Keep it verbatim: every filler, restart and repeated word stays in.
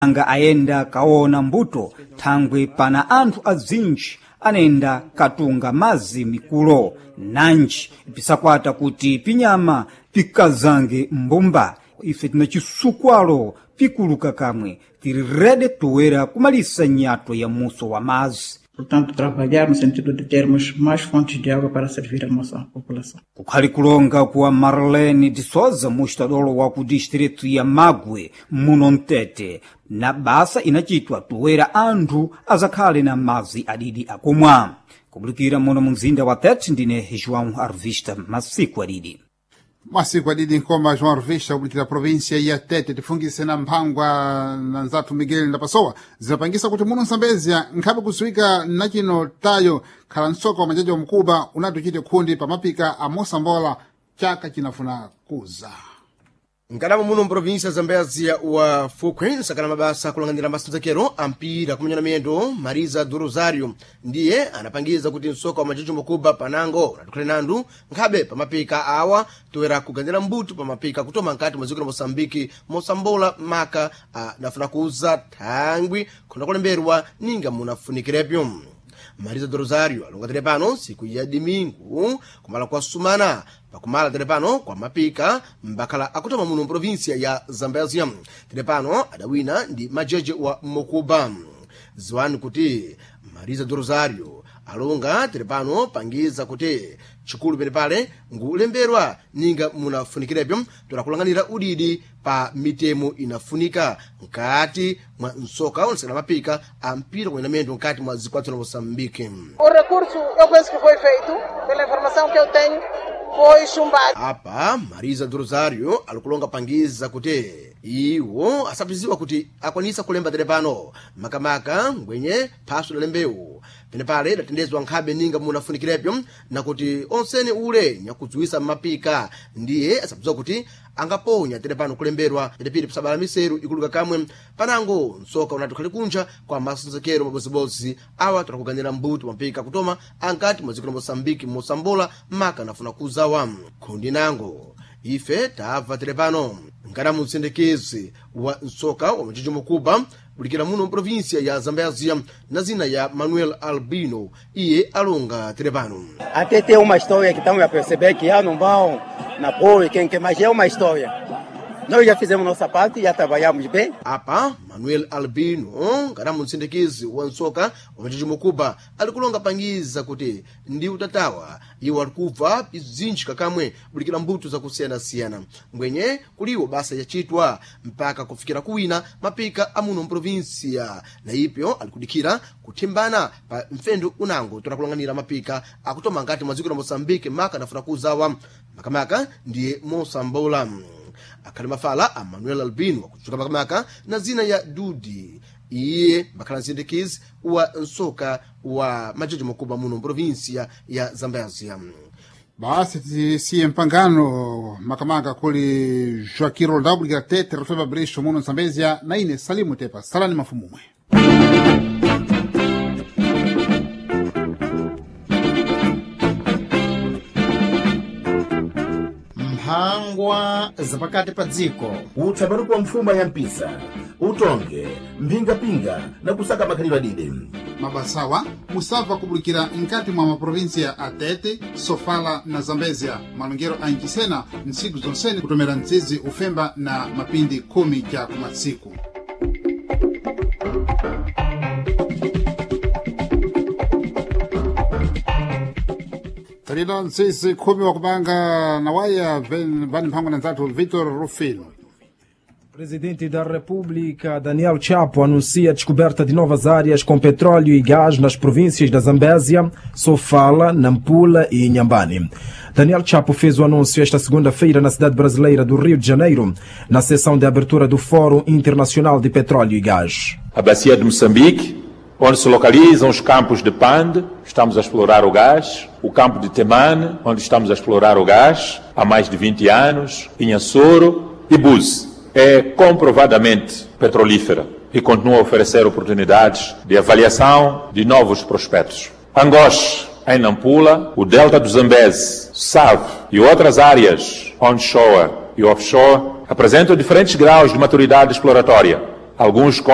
Anga ayenda kaona mbuto thangwe pana anthu azinji anayenda katunga mazi mikulo nanji pisakwata kuti pinyama pikazange mbumba. Ife tina cisukwalo pikuluka kamwe tiri rede toera kumalisa nyato ya muso wa mazi. Portanto, trabalhar no sentido de termos mais fontes de água para servir a nossa população. Kukhali kulonga kwa Marlene de Souza, mustadolo wa ku distritu ya Magwe muno Mtete, na basa inachitwa toera anthu azakhale na mazi adidi akumwa. Kubulikira muno mu mzinda wa Tete, ndine João Arvista masiku adidi. Masiku adidi nkoma João Arvista kubulikira província ya Tete. Tifungise na mphangwa na nzathu Miguel Ndapasowa zidapangisa kuti muno Nsambezia nkhabe kudziwika nachino tayo khala msoka wa majaji wa mkuba unati uchite khundi pamapika a mosambola chaka chinafuna kuza. Nkadamo muno mprovinsia Zambezia wa Fukwe nsakana mabasa kulang'anira masendzekero a mpira kumenya na miyendo Marisa do Rosario ndiye anapangiza kuti msoka wa majejo makuba panango unatukhale nandu nkhabe pamapika awa toera kuganira mbuto pamapika kutoma nkati mwa dziko la Moçambike mosambola maka anafuna kuuza thangwi khona kulemberwa ninga munafunikirepo. Marisa do Rosario alonga tere pano siku ya dimingu kumala kwa sumana pakumala tere pano kwa mapika mbakhala akutoma muno mprovinsia ya Zambezia. Tere pano adawina ndi majeje wa Mokuba. Ziwani kuti Marisa do Rosario alonga tere pano pangiza kuti chikulu pene pale ngulemberwa ninga munafunikirepo torakulang'anira udidi pa mitemo inafunika nkati mwa msoka unasekana mapika a mpira kuyenda miyendo nkati mwa zikwatso la Moçambique. O recurso, eu penso que foi feito, pela informação que eu tenho, foi chumbado. Apa Marisa do Rosario alikulonga pangiza kuti iwo asapiziwa kuti akwanisa kulemba tere pano makamaka ngwenye phaso la lembewu pene pale idatendezwa nkhabe ninga munafunikirepo na kuti onsene ule nyakudziwisa mmapika ndiye asapiziwa kuti angaponya tere pano kulemberwa idapiri pisabala miseru ikuluka kamwe panango msoka unati ukhali kunja kwa masenzekero mabozibodzi awa tirakuganira mbuto mapika kutoma ankati mwa dziko la Moçambique mosambola maka anafuna kuzawa khundi nango ife tabva tere pano nkana mutsendekezwe wa msoka wa majejo makuba bulikira muno mprovinsia ya Zambezia na zina ya Manuel Albino iye alonga tere pano. Até tem uma história que estamos a perceber que já não vão na boa, quem quer, mas é uma história. Nós já fizemos nossa parte, já trabalhamos bem. Apa Manuel Albino kana mutsindikizi wa msoka wa majejo makuba alikulonga pangiza kuti ndi utatawa iwo alikubva bzinji kakamwe bulikira mbuto zakusiyanasiyana ngwenye kuliwo basa yachitwa mpaka kufikira kuwina mapika amuno mprovinsia na ipyo alikudikira kuthimbana pa mfendo unango torakulang'anira mapika akutoma ngati mwa dziko la Moçambique maka anafuna kuzawa makamaka ndiye mosambola. Akhali mafala a Manuel Albino akutchuka makamaka na zina ya Dudi iye mbakhala msindikizi wa msoka wa majejo makuba muno mprovinsia ya Zambezia. Basi tisiye mpangano makamaka kuli Joaquim Roldão kulikira Tete Rufeba Breixo muno Nsambezia na ine Salimu Tepa salani mafumumwe. Mphangwa zapakati pa dziko. Utsabaruko wa mfuma ya mpisa utonge mphingapinga na kusaka makhalidwe adide. Mabasawa musabva kubulikira nkati mwa maprovinsia a Tete, Sofala na Zambezia malongero a ncisena ntsiku zonsene kutomera mtsizi ufemba na mapindi khumi ja kumatsiku. Talina ntsisi khumi wakupanga na waya vani mphangwa na nzathu Vitor Rufino. Presidente da República, Daniel Chapo, anuncia a descoberta de novas áreas com petróleo e gás nas províncias da Zambésia, Sofala, Nampula e Inhambane. Daniel Chapo fez o anúncio esta segunda-feira na cidade brasileira do Rio de Janeiro, na sessão de abertura do Fórum Internacional de Petróleo e Gás. A bacia de Moçambique, onde se localizam os campos de Pande, estamos a explorar o gás, o campo de Temane, onde estamos a explorar o gás há mais de vinte anos, Inhassoro e Búzi. É comprovadamente petrolífera e continua a oferecer oportunidades de avaliação de novos prospectos. Angoche, em Nampula, o Delta do Zambeze, Save e outras áreas onshore e offshore apresentam diferentes graus de maturidade exploratória, alguns com